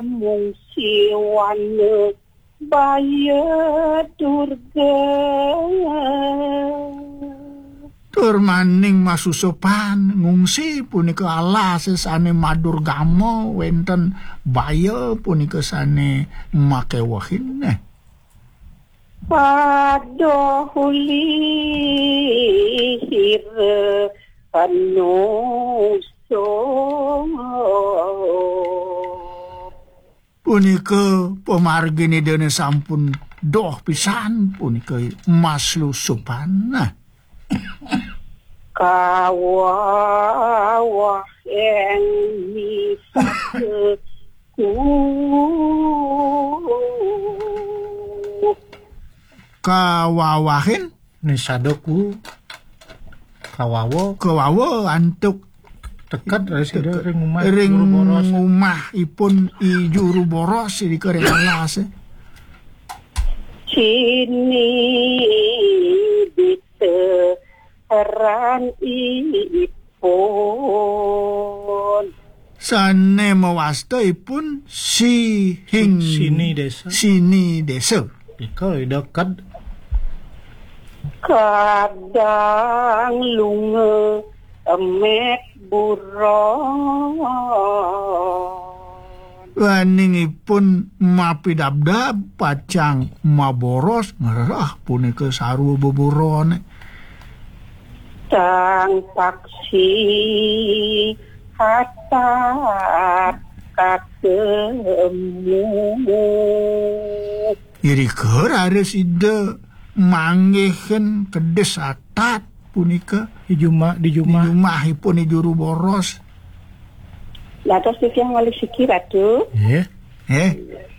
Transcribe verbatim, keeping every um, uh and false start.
Mung siwana baya durga. Tur maning masusupan ngungsi punika alas sane madurgama wenten baya punika sane makewehin. Padoh ulihira panuso. Punika pamargin Idane sampun doh pisan punika maslusupan. Nah. Kawawah eng misaka ku. Kawawahin? Nisada ku. Kawawa. Kawawa antuk teked ring umah ring juru boros. Umahipun I Juru Boros irika ring alas. Sini bisa ran ipun. Sane mawasta ipun Sihing Sini Desa. Sini Desa. Ika ida kad. Kadang lunga emek buron. Waningipun mapidabdab pacang maboros ngrereh punika sarwa beburone. Sang paksi hatat katemu. Irika raris Ida manggihin kedis atat punika di jumah, di jumah. Di jumahipun I Juru Boros. Dados titiang malih siki, Ratu. Nggih. Eh,